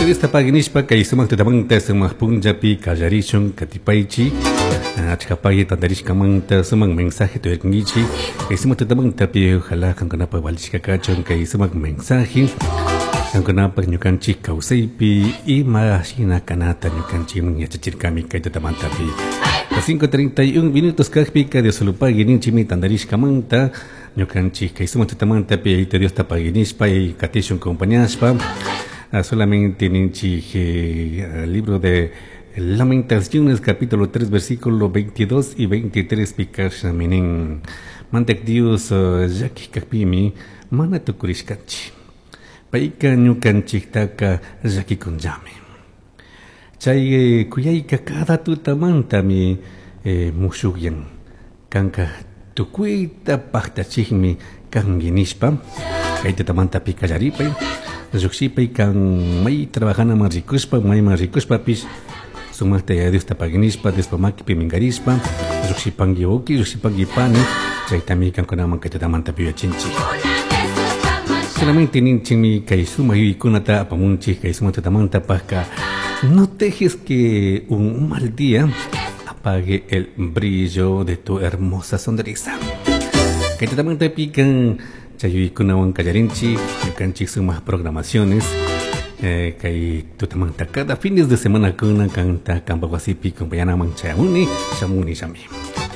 Diosta pagui nishpa kay sumak tutamanta sumak punllapi kallarishun katipaychi achka pagui tantarishkamanta sumak mensaje tuyarkankichik kay sumak tutamantapi ojalá kankunapak valishka kachun kay sumak mensaje kankunapak ñukanchik kawsaypi ima shina kanata ñukanchikman yachachirkami kay tutamantapi. Las 5:31 minutos kajpika Dios solo pagui ninchikmi tantarishkamanta ñukanchik kay sumak tutamantapi Yayito Diosta pagui nishpa y katishun compañashpa. Solamente ninchik libro de Lamentaciones capítulo 3 versículo 22 y 23 pikasha minin Mandak Dios llaki kajpimi mana tukurishkanchik payka ñukanchiktaka llakikunllami chay kuyayka cada tutamantami mushukyan kanka tukuyta paktachikmi kanki nishpa kay tutamantapi kallaripay lluqshipay kan may trabajanaman rikushpa mayman rikushpapish sumakta Yaya Diosta pagui nishpa Diospa makipi minkarishpa lluqshipanki uki lluqshipanki pani chaytami kankunaman kay tutamantapi yuyachinchik. Solamente ninchikmi kay sumak yuyaykunata apamunchik kay sumak tutamantapajka no dejes que un mal día apague el brillo de tu hermosa sonrisa. Kay tutamantapi kan chay yuyaykunawan kallarinchik ñukanchik sumak programaciones kay tutamanta cada fines de semana kuna kanta kanpak wasipi compañanaman chayamuni shamuni shami.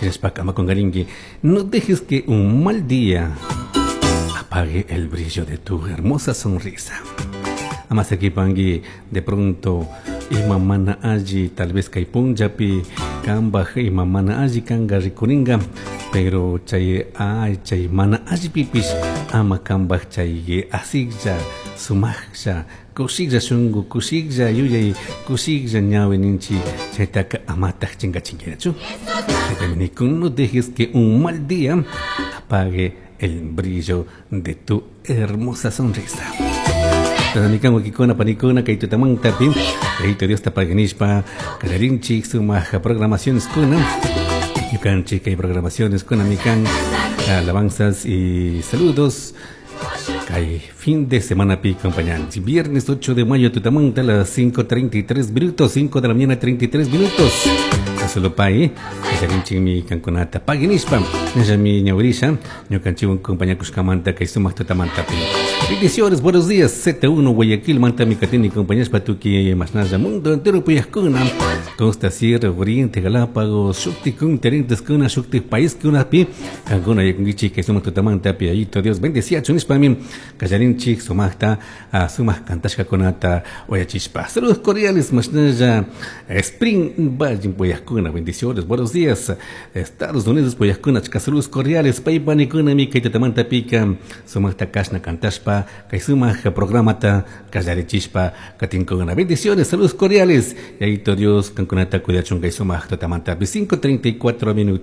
Shinashpaka ama kunkarinki no dejes que un mal día apague el brillo de tu hermosa sonrisa. Ama sakipanki de pronto ima mana alli tal vez kay punllapi kanpaj ima mana alli kanka rikurinka pero chay ay chay mana allipipish ama kanpaj chay asiklla sumaklla kushiklla shunku kushiklla yuyay kushiklla ñawi ninchik chaytaka amataj chinkachinkiñachu. Chaytami nikun no dejes que un mal día apague el brillo de tu hermosa sonrisa. Mikan wakikuna panikuna kay tutamantapi Yayito Diosta pagui nishpa kallarinchik sumak programaciones kuna ñukanchik kay programaciones kuna mikan alabanzas y saludos kay fin de semana pi acompañanchik viernes 8 de mayo tutamanta a las 5:33 minutos, 5 de la mañana 33 minutos. Solo pay kallarinchikmi kankunata pagui nishpa ñallami ñawirisha ñukanchikwan compañakushkamanta kay sumak tutamantapi. Bendiciones, buenos días, Z1 Guayaquil, manta mi katini compañeros patuki masnalla mundo entero puyascuna, Costa Sierra, Oriente, Galápagos, Shukti kun, Terentes kuna, Shukti país kuna pi, kankuna yakungichi que somos tutamanta pi, ayito Dios bendecía, chunispa mi, kallarinchik, sumakta, sumak kantashka kunata, oyachispa. Saludos cordiales, masnalla, Spring Valle, puyascuna, bendiciones, buenos días, Estados Unidos, puyascuna, chika, saludos cordiales, paypanikuna mi, kay tutamanta pika, sumakta kashna kantashpa, kay sumak programata kallarichishpa katinkuna. Bendiciones, saludos cordiales. Y ahí Dios kankunata cuidachun kay sumak tutamanta 5:34 minutos.